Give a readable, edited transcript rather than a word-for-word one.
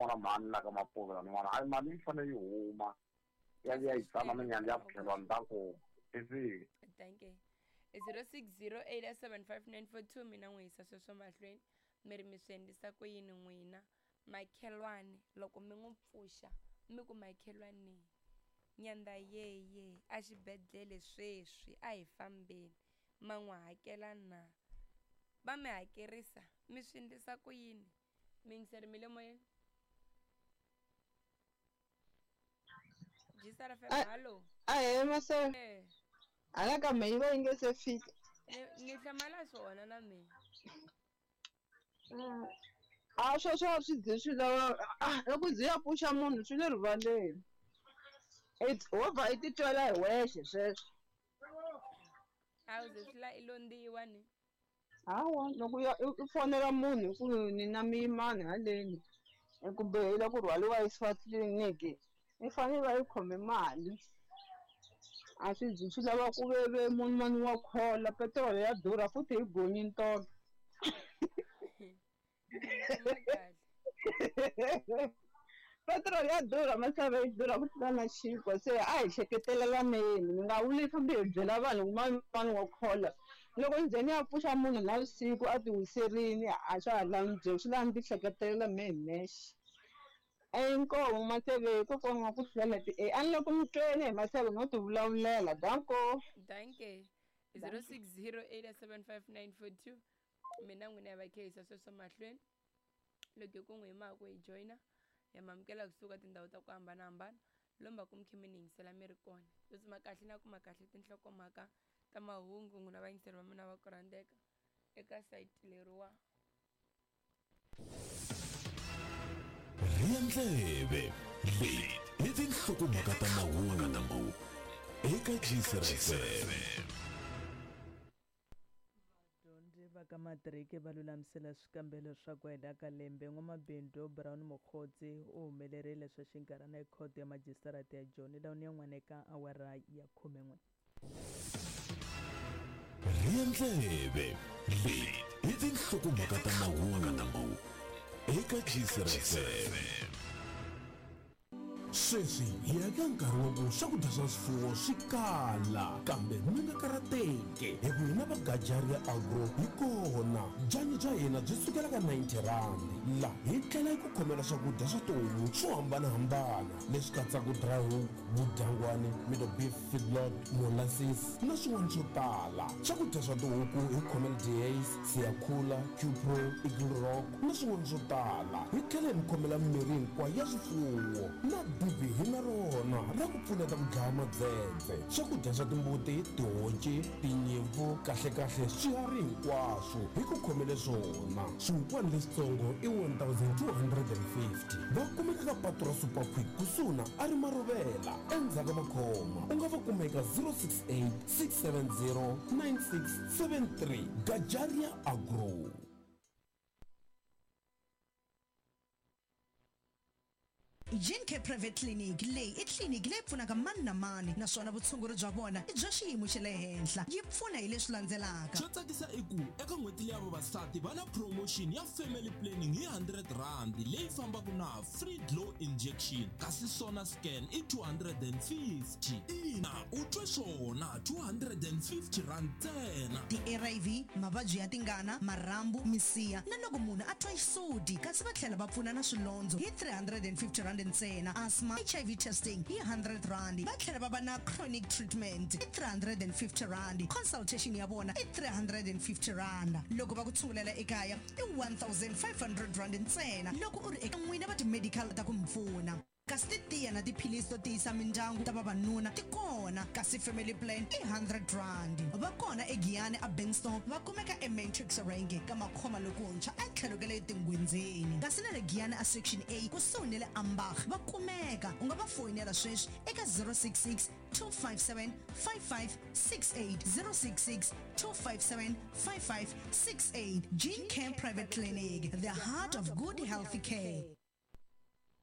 N'wana mhani la ka Mapuve laniwani hayi mali yi fanele yi huma ya vuya yi tshama minyandza ya vukhelwani ta ku i Dankie. 06087594 mina n'wi yisa sweswo mahlweni mi ri mi swi endlisa ku yini n'wina makhelwani loko mi n'wi pfuxa mi ku makhelwani nyandza yeye a xibedhlele sweswi a hi fambeni ma n'wi hakela na va mi hakerisa mi swi endlisa ku yini miyingiseri mi le moyeni Gisara FM hallo Ahee mase eh hala ka mehe yi va yi nge se fika ni ni hlamala swona na mina a sweswo a swi ze swi lava loko ze ya pfuxa munhu swi le rivaleni wo vha i titwela hi wexe sweswo a wu ze swi la i londziwa ni Hawa loko u ya u fonela munhu hi ku ni na muyimani haleni kumbe i lava ku rhwaliwa a yisiwa tliliniki i fanele i va i khome mali a swi zi swi lava ku ve ve munhu mani wa khola petiroli ya durha futhi hi gonyini tolo. Petiroli ya durha misava yi durha ku tlula na xinkwa se a hi hleketelaneni mi nga vuli fambi hi byela vanhu ku mani mani wa khola loko ni ze ni ya pfuxa munhu navusiku a ti wiserini a swa ha lavi ni byela swi lava ni ti hleketelela mehe hi nexe inkomu Maseve kokwana wa ku hlwela ti a ni le ku mi tweni he Maseve no ti vulavulela danko. Dankie 06087594 mina n'wina hi va khehisa sweswo mahlweni loko hi ku n'wi hi mhaka ku hi joyina ya mamukela kusuka tindhawu ta ku hambanahambana lomba ku mi khe mi ni yingisela mi ri kona yo tsuma kahle na kuma kahle tinhlokomhaka ta mahungu n'wina vayingiseri va mina va ku rhandzeka eka sayiti leriwa Rhiya ndleve leyi i tinhlokomhaka ta mahungu eka GCRFM. Vadyondzi va ka matiriki va lulamisela swikambelo swa ku hela ka lembe. N'wamabindzu Brown Mogotsi u humelerile swa xinkarhana ekhoto ya majisitarata ya Joni laha yan'wana eka awara ya khumen'we. Rhiya ndleve leyi i tinhlokomhaka ta mahungu eka GCRFM. Sweswi hi ya eka nkarhi wa ku swakudya swa swifuwo swi kala, kambe mi nga karhateki hi ku hina va Gajaria Agro hi kona. Byanyi bya hina byi sukela ka R90. La hi tlhela hi ku khomela swakudya swa tihomu swo hambana-hambana leswi katsaka dry hook, vudyangwani, middle beef feedlot, molasses na swin'wana swo tala. Swakudya swa tihuku hi khomela Dehaze, Siyakhula, Qpro, Eagle Rock na swin'wana swo tala. Hi tlhela hi mi khomela mimirhi hinkwayo ya swifuwo na dibi hi na rona ra ku pfuneta ku dlaya madzedze. Swakudya swa timbuti, tihonci, tinyimpfu, kahle-kahle swiharhi hinkwaswo hi ku khomele swona. Swihukwani leswitsongo i 1250. Va kumeka ka patu ra Super Quick kusuhi na Ari Marovela endzhaku ka Makhoma. U nga va kuma eka 068 670 9673. Gajaria Agro. Gene Care Private Clinic leyi i tliliniki leyi pfunaka mani na mani naswona vutshunguri bya vona i bya xiyimo xa le henhla. Yi pfuna hi leswi landzelaka. Xo tsakisa i ku eka n'hweti leya vavasati va na promotion ya family planning hi R100 leyi fambaka na free glow injection kasi sona scan i 250. Ina, u twe swona, R250 ntsena. Ti-ARV, mavabyi ya tingana, marhambu, misiha na loko munhu a twa xisuti kasi va tlhela va pfuna na swilondzo hi R350 ntsena, asthma, HIV testing hi R100, va tlhela va va na chronic treatment hi R350, consultation ya vona i R350. Loko va ku tshungulela ekaya i R1500 ntsena loko u ri eka n'wina va ti-medical ta ku mi pfuna. Kasi titiya na tiphilisi to tiyisa mindyangu ta vavanuna ti kona, kasi family plan i R100. Va kona eGiyani a Benstone, va kumeka eMatrix Rank ka Makhoma lokuntshwa etlhelo ka le Tinghwindzeni. Kasi na le Giyani a Section A kusuhi ni le Ambach va kumeka. U nga va foyinela sweswi eka 066 257 5568, 066 257 5568. Gene Care Private Clinic, the heart of good healthy care.